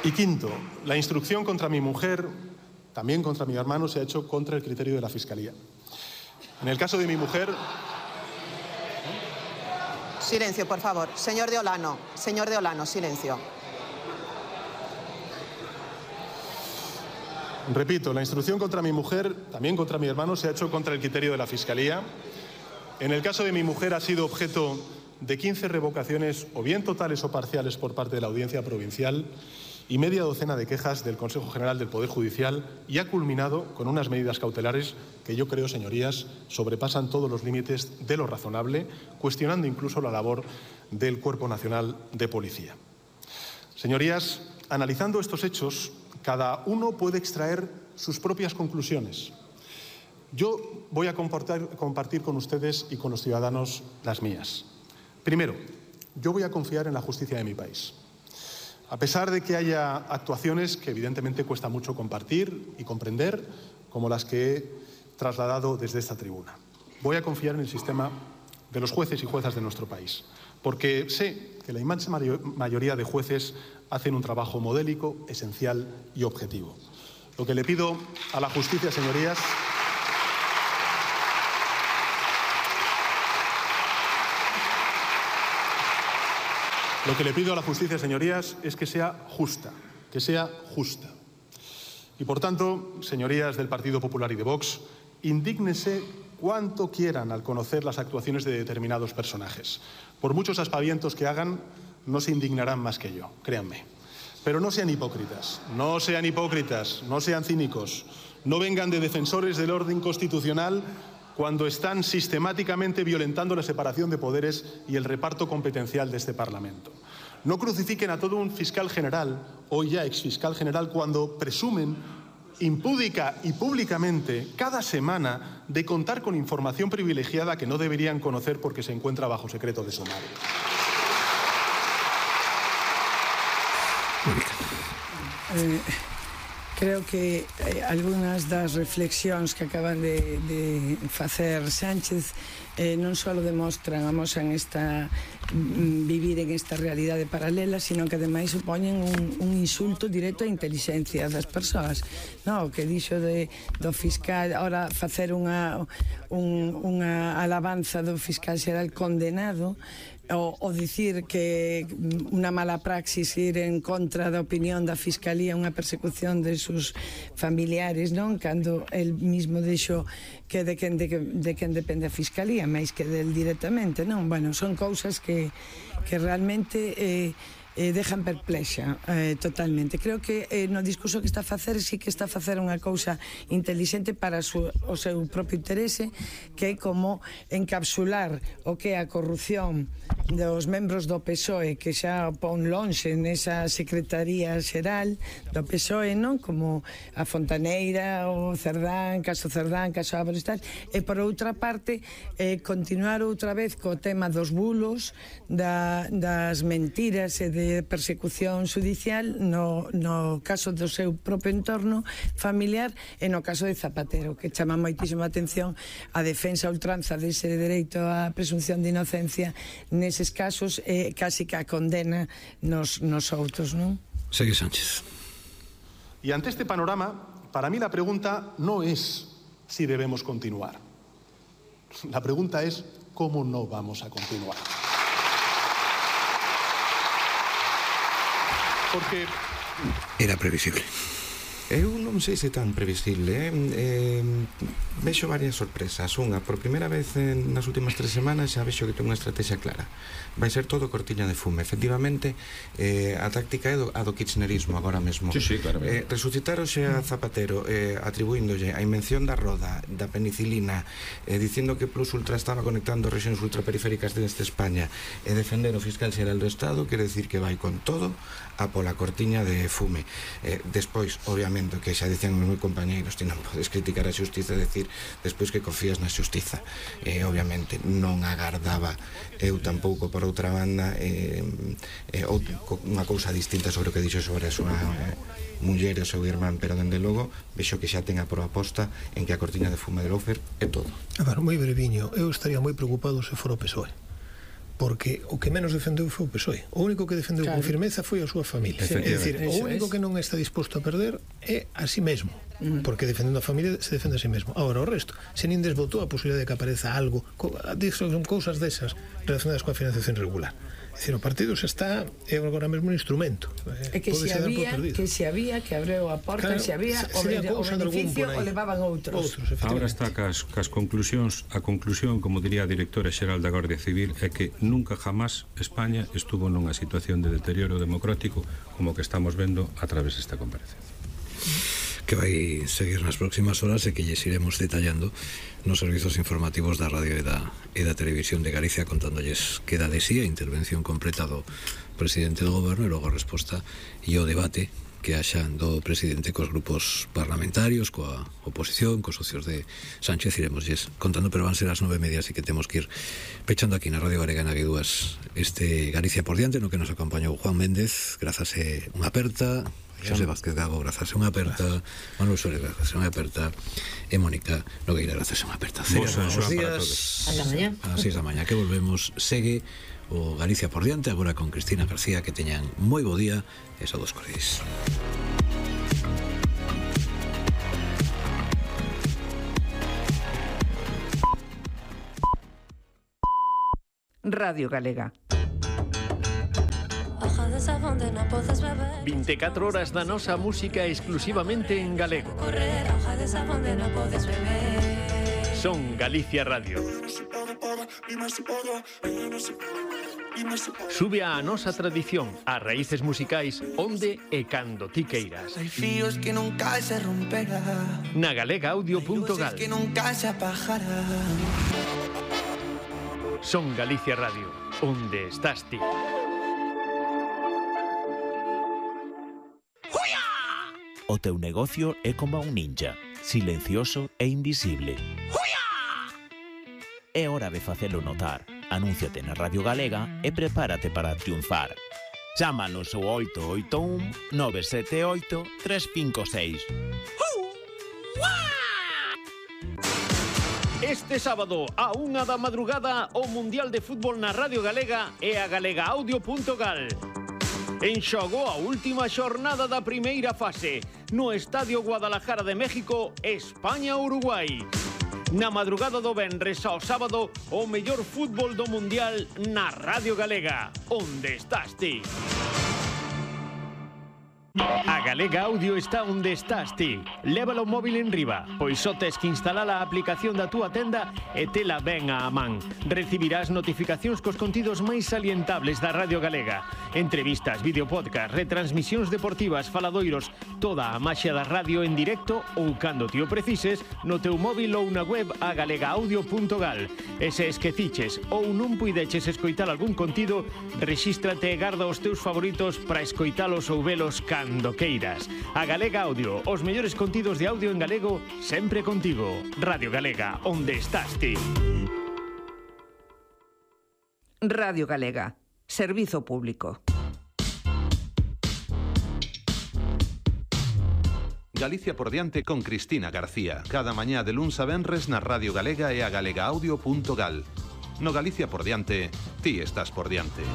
Y quinto, la instrucción contra mi mujer, también contra mi hermano, se ha hecho contra el criterio de la Fiscalía. En el caso de mi mujer... Silencio, por favor. Señor de Olano, silencio. Repito, la instrucción contra mi mujer, también contra mi hermano, se ha hecho contra el criterio de la Fiscalía. En el caso de mi mujer ha sido objeto de 15 revocaciones, o bien totales o parciales, por parte de la Audiencia Provincial y media docena de quejas del Consejo General del Poder Judicial, y ha culminado con unas medidas cautelares que yo creo, señorías, sobrepasan todos los límites de lo razonable, cuestionando incluso la labor del Cuerpo Nacional de Policía. Señorías, analizando estos hechos, cada uno puede extraer sus propias conclusiones. Yo voy a compartir con ustedes y con los ciudadanos las mías. Primero, yo voy a confiar en la justicia de mi país. A pesar de que haya actuaciones que evidentemente cuesta mucho compartir y comprender, como las que he trasladado desde esta tribuna. Voy a confiar en el sistema de los jueces y juezas de nuestro país, porque sé que la inmensa mayoría de jueces hacen un trabajo modélico, esencial y objetivo. Lo que le pido a la justicia, señorías, es que sea justa, Y por tanto, señorías del Partido Popular y de Vox, indígnense cuanto quieran al conocer las actuaciones de determinados personajes. Por muchos aspavientos que hagan, no se indignarán más que yo, créanme. Pero no sean hipócritas, no sean cínicos, no vengan de defensores del orden constitucional cuando están sistemáticamente violentando la separación de poderes y el reparto competencial de este Parlamento. No crucifiquen a todo un fiscal general, hoy ya exfiscal general, cuando presumen impúdica y públicamente cada semana de contar con información privilegiada que no deberían conocer porque se encuentra bajo secreto de sumario. Creo que algunas das reflexións que acaban de facer Sánchez non só demostran, amosan vivir en esta realidade paralela, sino que ademais supoñen un insulto directo á inteligencia das persoas. O que dixo do fiscal, ahora facer unha alabanza do fiscal xeral condenado, o dicir que unha mala praxis ir en contra da opinión da Fiscalía, unha persecución de sus familiares, non? Cando el mismo dixo que de quen depende a Fiscalía, máis que del directamente, non? Bueno, son cousas que realmente dejan perplexa totalmente. Creo que no discurso que está a facer sí que está a facer unha cousa intelixente para o seu propio interese, que é como encapsular o que é a corrupción dos membros do PSOE, que xa pon lonxe nesa Secretaría Xeral do PSOE, non? Como a Fontaneira, o Cerdán, caso Ábalos, tal. E por outra parte, continuar outra vez co tema dos bulos, das mentiras e de persecución judicial no caso do seu propio entorno familiar e no caso de Zapatero, que chama moitísima atención a defensa a ultranza dese dereito á presunción de inocencia neses casos, casi que a condena nos outros, non? Segue Sánchez. Y ante este panorama, para mí la pregunta no es si debemos continuar. La pregunta es cómo no vamos a continuar. Porque era previsible. Eu non sei se tan previsible, vexo varias sorpresas. Unha, por primeira vez nas últimas 3 semanas xa vexo que ten unha estrategia clara. Vai ser todo cortiña de fume. Efectivamente, a táctica é a do kirchnerismo agora mesmo. Sí, claro. Resucitar hoxe a Zapatero atribuíndolle a invención da roda, da penicilina, dicindo que Plus Ultra estaba conectando rexións ultraperiféricas deste España e defender o fiscal xeral do Estado, quere decir que vai con todo a pola cortiña de fume. Despois, obviamente, que xa dicen os meus compañeiros, ti non podes criticar a xustiza e decir despois que confías na xustiza. Obviamente non agardaba eu tampouco, por outra banda, unha cousa distinta sobre o que dixo sobre a súa muller e o seu irmán, pero dende logo vexo que xa ten a proposta en que a cortiña de fume de Loufer é todo. Moi breviño, eu estaría moi preocupado se fora o PSOE, porque o que menos defendeu foi o PSOE. O único que defendeu con firmeza foi a súa familia. É dicir, o único que non está disposto a perder é a si mesmo, porque defendendo a familia se defende a si mesmo. Agora, o resto, se nin desbotou a posibilidade de que apareza algo, son cousas desas relacionadas coa financiación regular. É dicir, o partido se está agora mesmo un instrumento. É que se había, que abreu a porta, se había o beneficio o levaban outros. Ahora está cas conclusións. A conclusión, como diría a directora xeral da Garda Civil, é que nunca jamás España estuvo nunha situación de deterioro democrático como que estamos vendo a través desta comparecencia. Que vai seguir nas próximas horas e que lles iremos detallando nos servizos informativos da radio e da televisión de Galicia, contándolles que da de sí a intervención completa do presidente do goberno e logo a resposta e o debate que haxa do presidente cos grupos parlamentarios, coa oposición, cos socios de Sánchez. Iremosles contando, pero van ser as 9:30, así que temos que ir pechando aquí na Radio Galega, na Guidúas, este Galicia por diante, no que nos acompañou Juan Méndez, grazas e unha aperta, Xosé Vázquez Gago, grazas e unha aperta, Manuel Suárez, grazas e unha aperta, e Mónica Nogueira, grazas e unha aperta. Bos días, ata mañá. A 6 da mañá que volvemos. Segue o Galicia por diante, agora con Cristina García. Que teñan moi bo día e saúdos cordiais. Radio Galega. 24 horas da nosa música exclusivamente en galego. Son Galicia Radio. Sube a nosa tradición, as raíces musicais onde e cando ti queiras. Hai fíos que nunca se romperá, na galegaaudio.gal. que nunca se apagará. Son Galicia Radio, onde estás ti. O teu negocio é como un ninja, silencioso e invisible. É hora de facelo notar. Anúnciate na Radio Galega e prepárate para triunfar. Chámanos ao 881 978 356. Este sábado, a 1 da madrugada, o Mundial de Fútbol na Radio Galega e a galegaaudio.gal. En xogo a última xornada da primeira fase no Estadio Guadalajara de México, España-Uruguai. Na madrugada do venres ao sábado, o mellor fútbol do Mundial na Radio Galega. Onde estás ti? A Galega Audio está onde estás ti. Lévalo o móvil en riba, pois só tes que instalar a aplicación da túa tenda e tela ben á man. Recibirás notificacións cos contidos máis salientables da Radio Galega. Entrevistas, videopodcast, retransmisións deportivas, faladoiros, toda a maxia da radio en directo ou cando ti o precises no teu móvil ou na web a galegaaudio.gal. E se esqueciches ou non puideches escoitar algún contido, rexístrate e garda os teus favoritos para escoitalos ou velos cando queiras. A Galega Audio, os mellores contidos de audio en galego, sempre contigo. Radio Galega, onde estás ti? Radio Galega, servizo público. Galicia por diante con Cristina García. Cada mañá de luns a venres na Radio Galega e a galegaaudio.gal. No Galicia por diante, ti estás por diante.